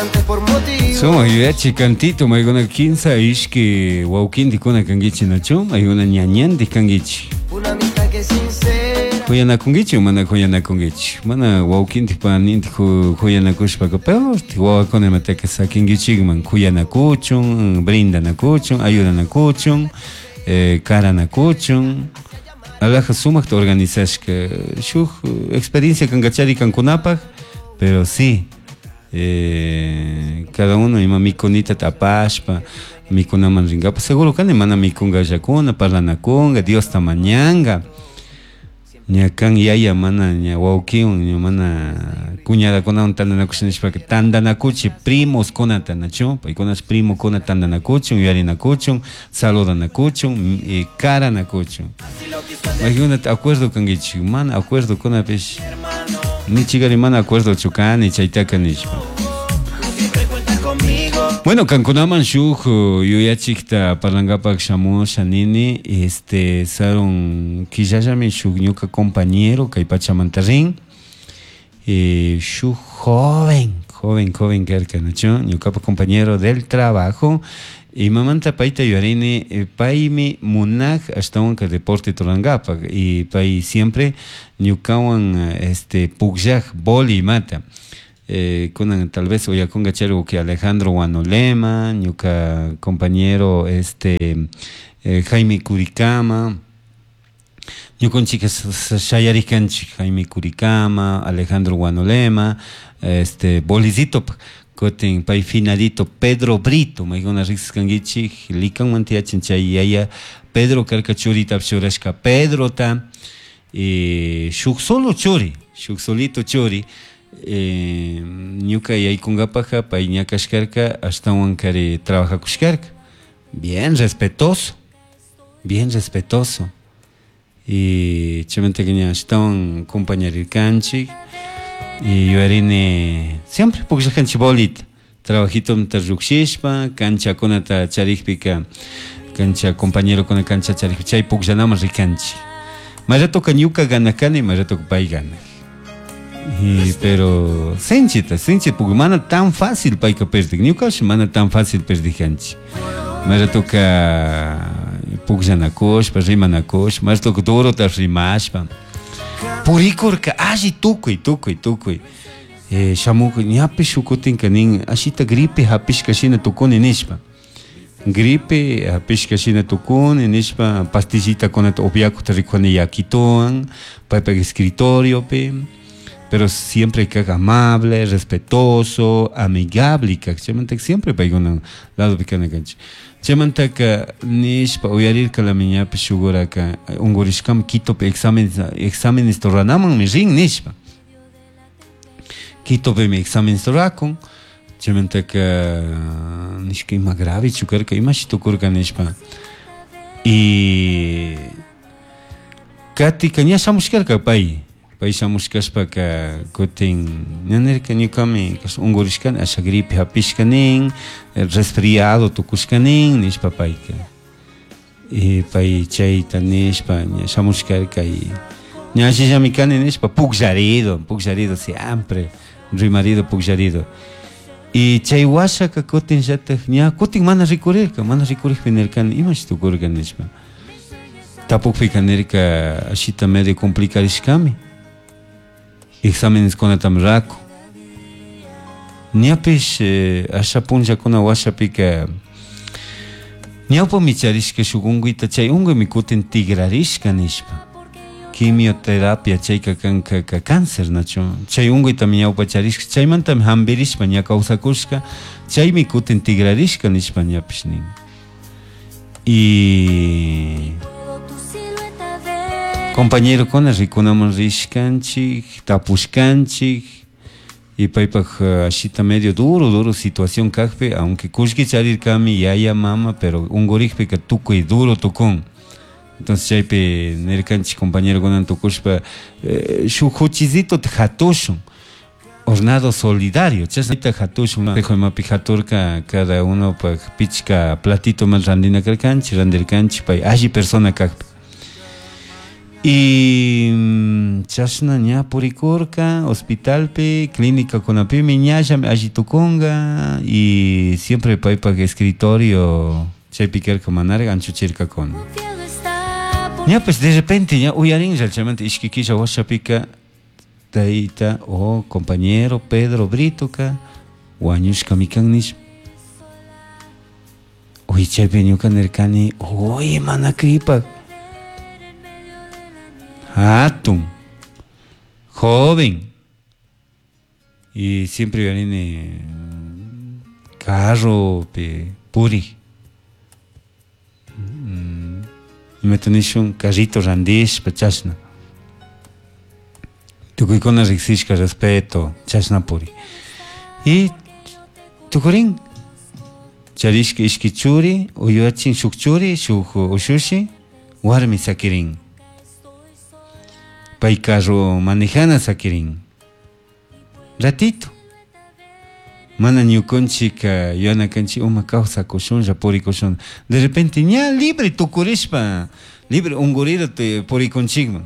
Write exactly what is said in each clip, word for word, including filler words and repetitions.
Instante por motivo. Sumak yuyachi cantito, maykuna kinsa ishki wawkintikuna kankichik, nachu? Maykuna ñañantik kankichik. Una amistad que es sincera. Kuyanakunkichik o mana kuyanakunkichik? Mana wawkintik panintik kuyanakushpaka peor wawakuna imataka sakinkichikman kuyanakuchun, brindanakuchun, ayudanakuchun, eh, karanakuchun. Alaja sumakta organizashka shuk experiencia kankachari kankunapaj, pero sí, eh, cada uno ima mikunita tapashpa mikunaman rinkapa seguro kani mana mikungallakuna parlanakunga Diosta mañanga ña kan yaya mana ña wawkiwan ña mana cuñadakunawan tantanakusha nishpaka tantanakuchi primoskunata, nachu? Paykunash primokuna tantanakuchun, yuyarinakuchun, saludanakuchun y karanakuchun. Maykunata acuerdo kankichik, mana acuerdo kunapish nichikari mana acuerdochu kani chaytaka nishpa. Bueno, kankunaman shuk yuyachikta parlankapak shamusha nini, este sarun killallami shuk ñuka compañero kay pachamanta rin, eh, shuk joven, joven, joven karka, nachu? Ñukapa compañero del trabajo, imamanta payta yuyarini, eh, paymi munak ashtawanka deporte rurankapak y pay siempre ñukawan este pukllak boli imata. Eh, kunan tal vez uyakunga chayri que Alejandro Guanolema, ñuka compañero este eh, Jaime Curicama, ñukanchik shayarikanchik Jaime Curicama, Alejandro Guanolema, este bolicito kutin pay finalito Pedro Brito, maykuna riqsiskankichik likanman tiyachin chay yaya Pedro karka churita churashka Pedrota, eh, shuk solo churi, shuk solito churi, eh, ñuka yaykunkapaja pay ña kashkarka ashtawan kari trabajakushkarka, bien respetuoso, bien respetuoso, y chaymanta ña ashtawan compañerirkanchik y yuyarini siempre pukllakanchik bolita, trabajitonta llukshishpa canchakunata charikpika cancha compañerokuna cancha charikpi chay pukllanaman rikanchik, may ratoka ñuka ganakani, may ratoka pay ganak. Y, pero sinchita, sinchi, porque mana tan fácil payka perdik, ñukash mana tan fácil perdikanchik. May ratoka pukllanakushpa, rimanakushpa, may ratoka durota rimashpa. Purikurka alli tukuy, tukuy, tukuy. Eh, shamuk ñapish shukutinka nin ashita gripe hapishka shina tukuni nishpa. Gripe hapishka shina tukuni nishpa pastillita kunata upiakuta rikuni yakituwan, paypak escritoriopi. Pero siempre kak amable, respetuoso, amigable kak. Chaymantaka siempre paykuna lado pikana kanchik. Chaymantaka nishpa uyarirka la ñapish shuguraka unkurishkami Quitopi exámenes, exámenes ruranamanmi rin nishpa. Quitopimi exámenes rurakun. Chaymantaka nishka ima gravechu karka, imashi tukurka nishpa. Y katika ña shamushkarka pay. Pay shamushkashpaka kutin ña nirka ñukami unkurishkani asha gripe hapishka nin, resfriado tukushka nin nishpa payka. Y pay chayta nishpa ña shamushkarka y ña ashillami kani nishpa pukllarido, pukllarido siempre, rimarido pukllarido. Y chay washaka kutin llatak ña kutin mana rikurirka, mana rikurikpi nirkani imashi tukurka nishpa. Tapukpika nirka ashita medio complicarishkami. Exámenes kunatam raku. Ñapish, eh, asha punllakuna washapika ñawpami charishka shuk unkuyta chay unkuymi kutin tigrarishka nishpa. Quimioterapia chayka kanka ka cáncer, nachu? Chay unkuytami ñawpa charishka, chaymantami hampirishpa ña kawsakushka, chaymi kutin tigrarishka nishpa ñapish nin. Y compañerokuna rikunaman rishkanchik, tapushkanchik, y paypak ashita medio duro, duro situación kakpi, aunque kullki charirkami yaya mama, pero unkurikpika tukuy duro tukun. Entonces chaypi nirkanchik compañerokunan tukushpa, eh, shuk huchisito hatushun, hornado solidario, chashnata hatushun, imapi haturka cada uno pak pichka platito man randina karkanchik, randirkanchik, pay alli persona kakpi. Y mm, chashna ña purikurka hospitalpi clínica kunapimi ñallami alli tukunga y siempre paypak escritorio chaypi karka manara anchuchirkakuna. Ña pues de repente ña uyarinlla chaymanta ishki killa washapika tayta o compañero Pedro Britoka wañushkami kan nishpa. Uy chaypi ñuka nirkani uy mana kripak hatun joven y siempre yuyarini carropi purik imata nishun carrito randishpa chashna tukuykuna riksishka respeto chashna purik y tukurin charishka ishki churi uywachin shuk churi shuk ushushi warmi sakirin pay carro manejana sakirin ratito mana ñukanchik yuyana kanchik uma kawsakushunlla purikushun de repente ña libre tukurishpa libre unkurira purikunchikman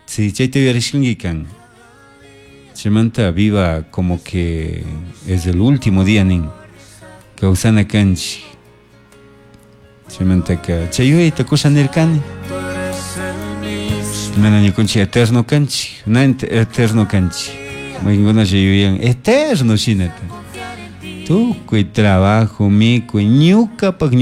si chayta yuyarishkanki kan chaymanta viva como que es el último día nin kawsana kanchik chaymantaka chay yuyayta kusha nirkani mana ñukanchik eterno kanchik na eterno kanchik maykankunalla yuyan eterno shinata tukuy trabajo mikuy ñukapak.